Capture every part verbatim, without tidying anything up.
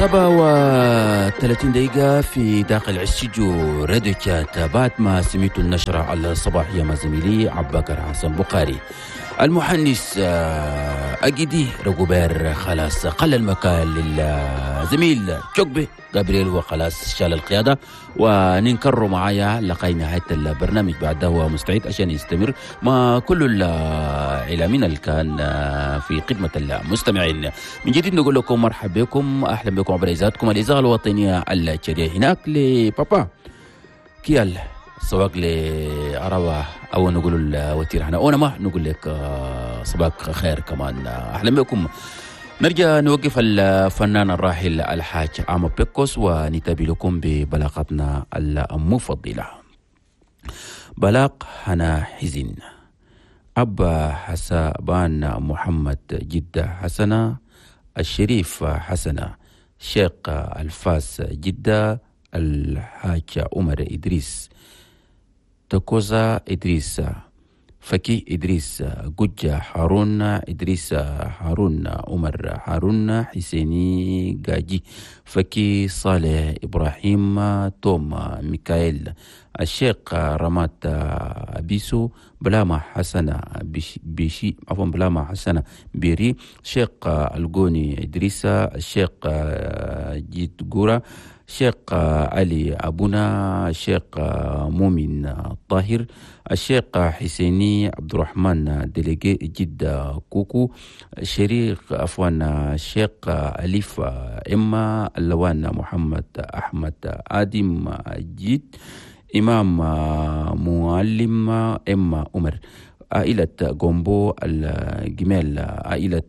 سبعة وثلاثين دقيقة في داخل استوديو راديو تشاد، بعد ما سمعتوا النشرة الصباحية مع زميلي عباكر حسن بخاري. المهندس آه، أجدي رجوبير خلاص قل المكان للزميل تشوكبي جابرييل وخلاص شال القيادة، وننكر معايا لقي نهاية البرنامج. بعده هو مستعد عشان يستمر مع كل الإعلاميين اللي كان آه، في خدمة المستمعين. من جديد نقول لكم مرحبا بكم، أهلا بكم عبر إذاعتكم الإذاعة الوطنية التشادية. هناك لبابا كيال سواق لعربة أو نقول الوتير هنا أو ما نقول لك آه، صباح خير كمان، آه، أهلا بكم. نرجع نوقف الفنان الراحل الحاج عامو بيكوس ونتابع لكم ببلاغتنا المفضلة. بلاغ هنا حزن أبا حسابان محمد جدة حسنة الشريف حسنة شيخ الفاس جدة الحاج عمر إدريس تكوزا إدريس فكي إدريس جوجا هارون إدريس هارون عمر هارون حسيني جاجي فكي صالح إبراهيم توم ميكائيل الشيخ رمات أبيسو بلاما حسنة بيشي عفوا بلاما حسنة بيري شيخ الجوني إدريس الشيخ جيت جورا شيخ علي أبونا الشيخ مؤمن طاهر الشيخ حسيني عبد الرحمن délégué جدة كوكو شريك عفوا الشيخ أليف إما اللوان محمد أحمد آدم جيد إمام معلم إما عمر عائلة جومبو الجمال عائلة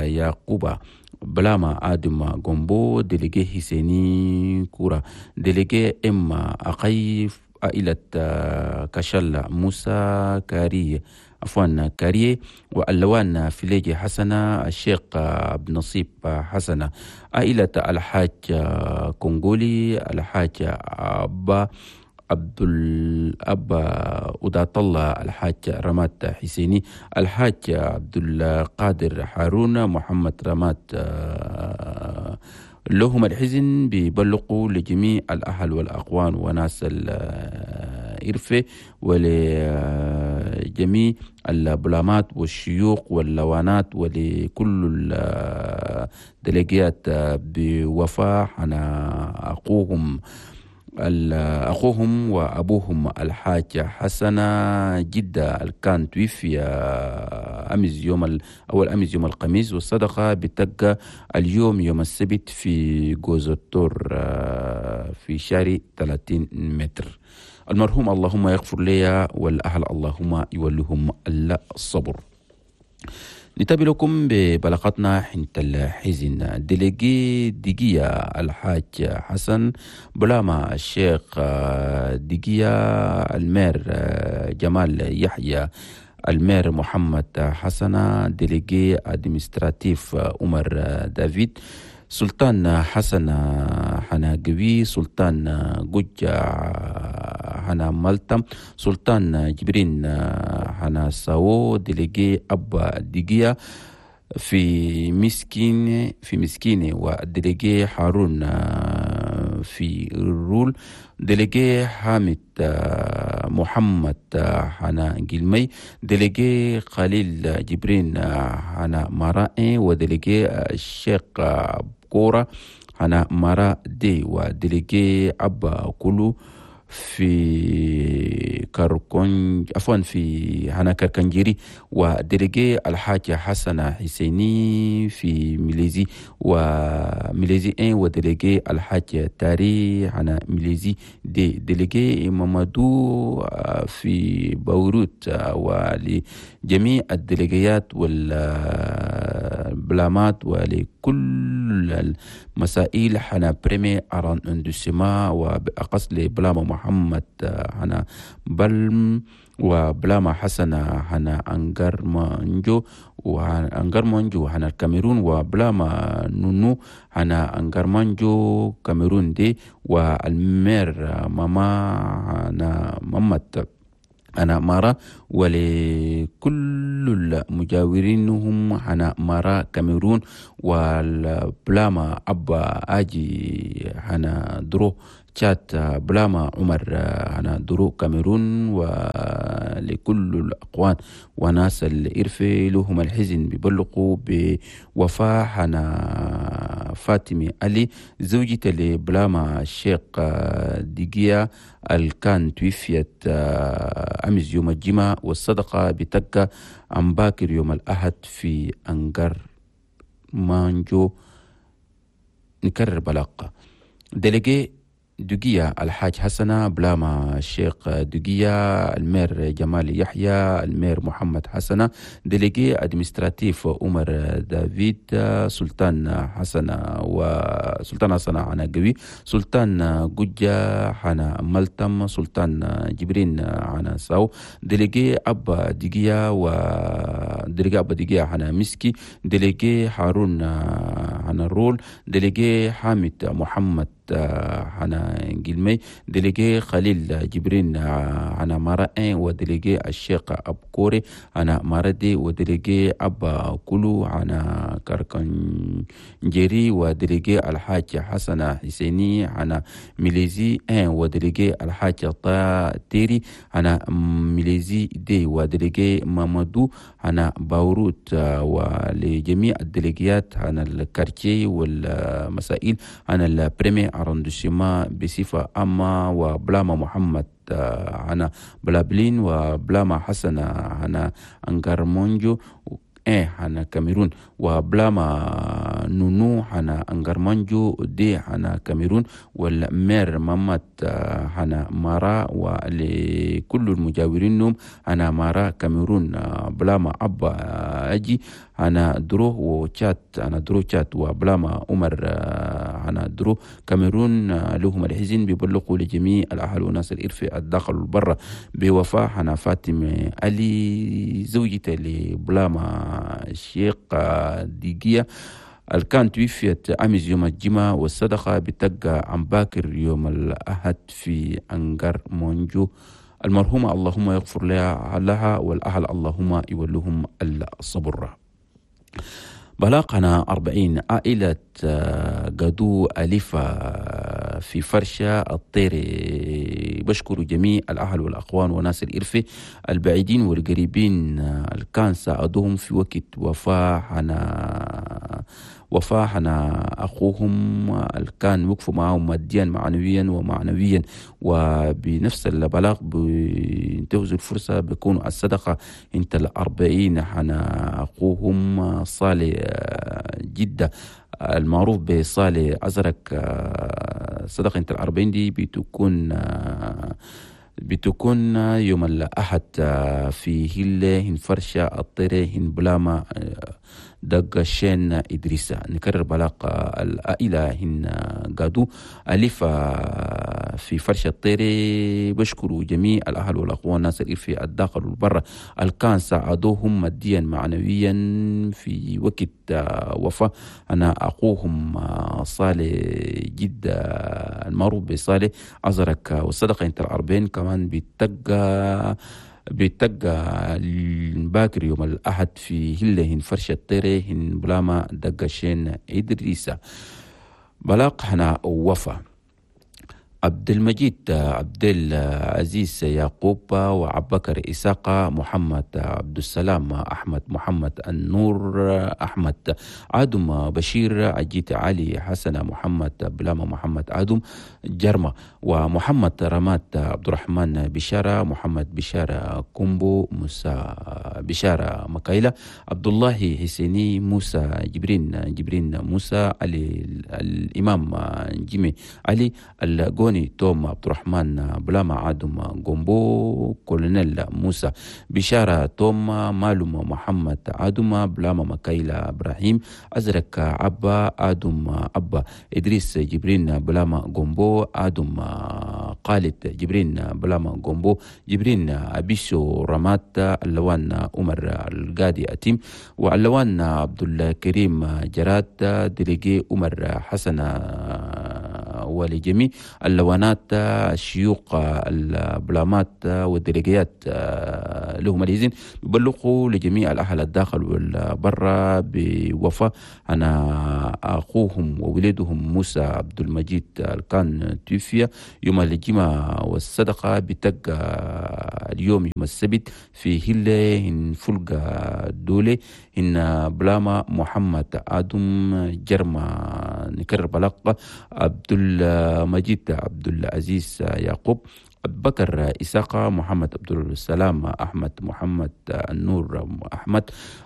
يعقوبة بلاما آدم جومبو délégué حسيني كورا délégué إما أقي عائلة كشل موسى كاري عفوا كاريه واللوان فيليجي حسنة الشيخ بنصيب حسنة عائلة الحاج كونغولي الحاج أبا عبد الأب أداة الله الحاج رمات حسيني الحاج عبد القادر هارون محمد رمات لهم الحزن بيبلغوا لجميع الأهل والأقوان وناس الإرفة ولجميع البلامات والشيوخ واللوانات ولكل الدليجيات بوفاء أنا أخوهم أخوهم وأبوهم الحاج حسنة جدة كان توفي أمس يوم أول أمس يوم الخميس، والصدقة بتبقى اليوم يوم السبت في جوزتور في شارع ثلاثين متر. المرحوم اللهم يغفر لي والأهل اللهم يولهم الصبر. نتابع لكم ببلاغتنا حنت الحزن. délégué ديجية الحاج حسن بلاما الشيخ ديجية ال maire جمال يحيى ال maire محمد حسن délégué administratif عمر دافيد سلطان حسن حناقوي سلطان جوجا حنا مالتا سلطان جبرين حنا ساو délégué أبا ديجيا في مسكين في مسكينة وال délégué هارون في رول délégué حامد محمد حنا جلمي délégué خليل جبرين حنا مرائي و délégué الشيخ كورة حنا مرا دي و délégué أبا كلو في كاركون عفوا في هنا كركنجيري و délégué الحاج حسن حسيني في ميليزي وميليزي un و délégué الحاج تاري هنا ميليزي deux délégué مامادو في بيروت ولجميع الديليجيات والبلامات ولكل المسائل حنا premier arrondissement وبأقص لبلاما محمد حنا بلم وبلاما حسن حنا أنجر مانجو وأنجر مانجو حنا الكاميرون وبلاما نونو حنا أنجر مانجو كاميرون دي وال maire ماما حنا مامت أنا مارا، ولكل المجاورين هم أنا مارا كاميرون، والبلاما أبا أجي أنا درو تشات بلاما عمر أنا درو كاميرون، ولكل الأقوان وناس الإرفي لهم الحزن بيبلغوا بوفاة أنا فاطمة علي زوجة لبلاما الشيخ ديجيا الكان توفيت أمس يوم الجمعة، والصدقة بتبقى عن باكر يوم الأحد في أنجر مانجو. نكرر بلاقة délégué دقية الحاج حسنة بلاما الشيخ دقية ال maire جمال يحيى ال maire محمد حسنة délégué administratif عمر دافيد سلطان حسنة وسلطان حسنة عنا قوي سلطان قجة حنا ملتم سلطان جبرين عنا ساو délégué أبا دقية و délégué أبا دقية حنا مسكي délégué هارون حنا رول délégué حامد محمد حنا جلمي délégué خليل جبرين حنا مارا un و délégué الشيخ أبكوري حنا ماردي و délégué أبا كلو حنا كاركنجيري و délégué الحاج حسن حسيني حنا ميليزي un و délégué الحاج تيري حنا ميليزي deux و délégué مامادو حنا باوروت، ولجميع الديليجيات حنا ال quartier والمسائل حنا ال premier arrondissement بصفة عامة، وبلاما محمد عنا بلابلين وبلاما حسن عنا أنغارمونجو إيه حنا كاميرون، وبلاما نونو حنا أنغارمانجو deux حنا كاميرون، وال maire مامات حنا مارا، ولكل المجاورين نوم حنا مارا كاميرون بلاما أبا أجي حنا درو وتشات أنا درو تشات وبلاما عمر حنا درو كاميرون لهم الحزن بيبلغوا لجميع الأهل وناس الإرفي الداخل والبرة بوفاة حنا فاطمة علي زوجته لبلاما الشيخ ديجيا الكان توفيت أمس يوم الجمعة، والصدقة بتبقى عن باكر يوم الأحد في أنجر مونجو. المرحومة اللهم يغفر لها لها والأهل اللهم يولهم الصبر. بلاقنا أربعين عائلة قدو ألفة في فرشة الطير بشكر جميع الأهل والأخوان وناس الإرفة البعيدين والقريبين الكان ساعدوهم في وقت وفاة حنا وفاة حنا أخوهم الكان وقفوا معهم ماديا معنويا ومعنويا، وبنفس البلاغ بينتهزوا الفرصة بيكونوا الصدقة انت الأربعين حنا أخوهم صالح جدة المعروف بصالح أزرق. صدقة انت الأربعين دي بتكون بتكون يوم الأحد في هلة هن فرشة الطيرة هن بلاما دق شين إدريسة. نكرر بلاق العائلة هن قادو ألف في فرشة الطيرة بشكروا جميع الأهل والأخوان ناس في الداخل والبر الكان ساعدوهم ماديا معنويا في وقت وفاة أنا أخوهم صالح جدة المعروف بصالح أزرق. والصدقة انت الأربعين كمان بتقى بتقى الباكر يوم الأحد في هلة هن فرشة الطيرة هن بلاما دقشين إدريسة. بلاق هنا وفا عبد المجيد عبد العزيز يعقوب وعبكر إساقة محمد عبد السلام أحمد محمد النور أحمد عدم بشير عجيت علي حسن محمد بلاما محمد عدم جرمة ومحمد رمات عبد الرحمن بشارة محمد بشارة كومبو موسى بشارة مكايلة عبد الله حسيني موسى جبرين جبرين موسى علي الإمام جيمي علي الجوني توم عبد الرحمن بلاما عادم جومبو كولونيل موسى بشارة توم مالوم محمد عادم بلاما مكايلة إبراهيم أزرق عبا آدم أبا إدريس جبرين بلاما جومبو آدم قالد جبرين بلاما جومبو جبرين أبيسو رمات اللوان عمر القادي أتيم وعلوان عبد الكريم جراد délégué عمر حسن ولجميع اللوانات الشيوخ البلامات والديليجيات لهم الإذن بيبلغوا لجميع الأهل الداخل والبرة بوفاة أنا أخوهم وولدهم موسى عبد المجيد كان توفي يوم الجمعة والصدقة بتقى اليوم يوم السبت في هلة إن فلقة دولة إن بلاما محمد آدم جرما نكرر بلقة عبد المجيد عبد العزيز يعقوب بكر إساقة محمد عبد السلام أحمد محمد النور أحمد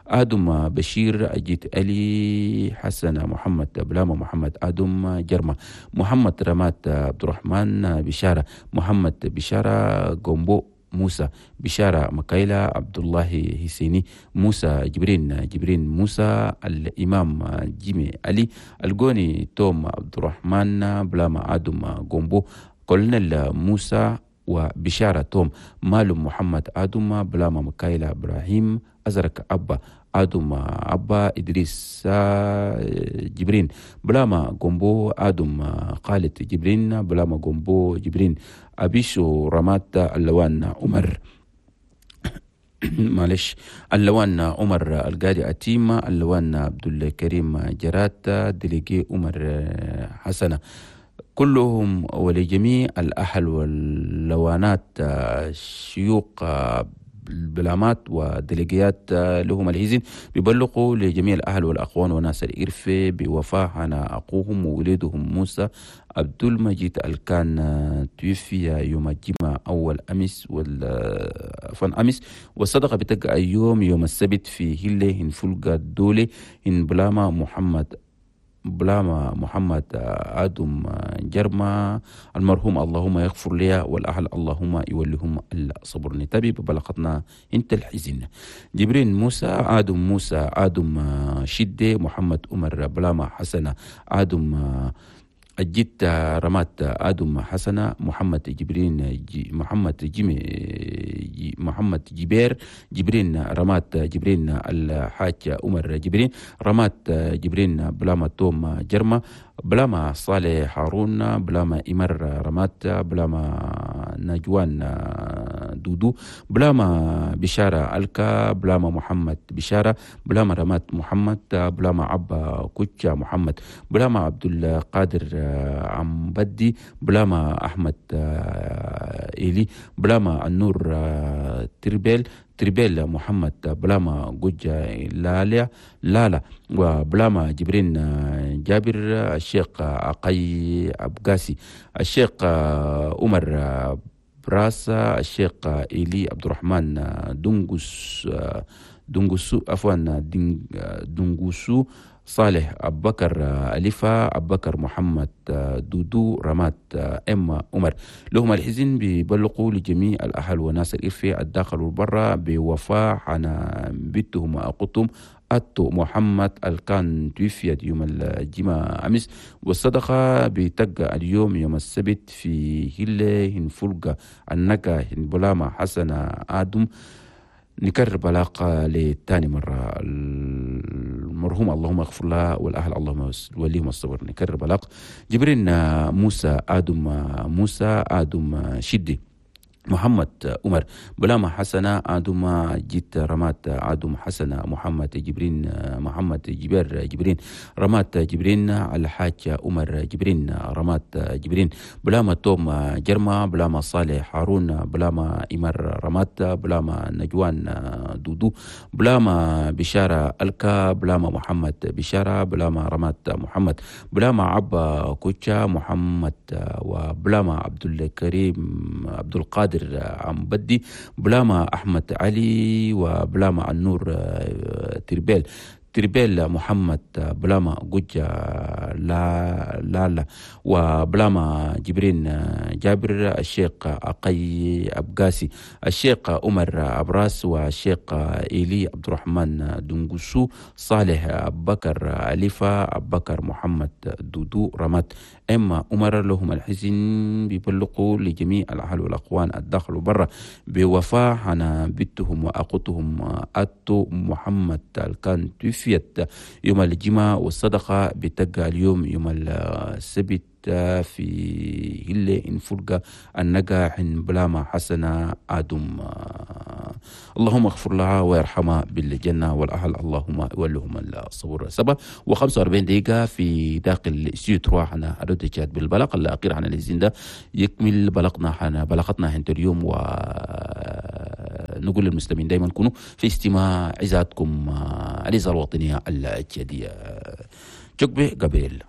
آدم بشير أجيت علي حسن محمد بلاما محمد آدم جرمة محمد رمات عبد الرحمن بشارة محمد بشارة جومبو موسى بشارة مكايلة عبد الله حسيني موسى جبرين جبرين موسى الإمام جيمي علي الجوني توم عبد الرحمن بلاما آدم جومبو كولنيل موسى وبشارة توم مالو محمد آدم بلاما مكايلة إبراهيم أزرق أبا آدم أبا إدريس جبرين بلاما جومبو آدم خالد جبرين بلاما جومبو جبرين أبيشو رمات اللوان عمر معلش اللوان عمر القادي أتيمة اللوان عبد الكريم جرات ديليجي عمر حسنة كلهم ولجميع الأهل واللوانات شيوخ البلامات وديليجيات لهم الهزين بيبلغوا لجميع الأهل والأخوان وناس الإرفة بوفاة عن أخوهم وولدهم موسى عبد المجيد الكان توفي يوم الجمعة أول أمس والفن أمس والصدقة بتقع يوم يوم السبت في هلة هن فلقة دولة هن بلاما محمد بلاما محمد آدم جرما المرحوم اللهم يغفر لها والأهل اللهم يوليهم الصبر. نتابع ببلغتنا انت الحزن جبرين موسى آدم موسى آدم شدة محمد عمر بلاما حسنة آدم الجد رمات آدم حسنة محمد جبرين جي محمد جيمي جي محمد جبير جبرين رمات جبرين الحاج عمر جبرين رمات جبرين بلاما توم جرما بلاما صالح هارون بلاما إمر رمات بلاما نجوان دودو بلاما بشارة ألكا بلاما محمد بشارة بلاما رمات محمد بلاما عبا كوتشا محمد بلاما عبد القادر عمبدي بلاما أحمد إيلي بلاما النور تربيل تربيل محمد بلاما جوجا لالا لالا وبلاما جبرين جابر الشيخ عقي أبقاسي الشيخ عمر براس الشيخ إيلي عبد الرحمن دونغوس دونغوسو عفوا دونغوسو صالح أبو بكر أليفة أبو بكر محمد دودو رمات إما عمر لهم الحزن بيبلغوا لجميع الأهل وناس الإرفة الداخل والبرة بوفاة عن بيتهم وأقطهم أتو محمد الكان توفيت يوم الجمعة أمس والصدقة بتقى اليوم يوم السبت في هلة هنفلقة النقا هنبلاما حسن آدم. نكرر بلاقة لتاني مرة المرحوم اللهم اغفر لها والأهل اللهم وليهم الصبر. نكرر بلاق جبرين موسى آدم موسى آدم شدي محمد عمر بلاما حسنة آدم جيت رمات آدم حسنة محمد جبرين محمد جبير جبرين رمات جبرين الحاج عمر جبرين رمات جبرين بلاما توم جرما بلاما صالح هارون بلاما إمر رمات بلاما نجوان دودو بلاما بشارة ألكا بلاما محمد بشارة بلاما رمات محمد بلاما عبا كوتشا محمد وبلاما عبد الكريم عبد القادر عمبدي بلاما أحمد علي وبلاما النور تربيل تربيل محمد بلاما جوجا لا لا لا وبلاما جبرين جابر الشيخ أقي أبقاسي الشيخ عمر أبراس والشيخ إيلي عبد الرحمن دونغوسو صالح أبو بكر أليفة أبو بكر محمد دودو رمات إما عمر لهم الحزن بيبلغوا لجميع الأهل والأخوان الداخل وبرا بوفاة عن بنتهم وأخوتهم أتو محمد الكان توفي توفيت يوم الجمعة، والصدقة بتقع اليوم يوم السبت في هلة انفرقة النقا حن بلاما حسنة آدم. اللهم اغفر لها وارحمها بالجنة والأهل اللهم ولهم الصبر. سبعة وخمسة وأربعين دقيقة في داخل استوديو تروا حنا أرد جاد بالبلاغ الأخير عن الزين ده يكمل بلغنا حنا بلغتنا هنت اليوم، ونقول للمسلمين دايما كونوا في استماع عزاتكم الإذاعة الوطنية التشادية. جوكبي قبيل.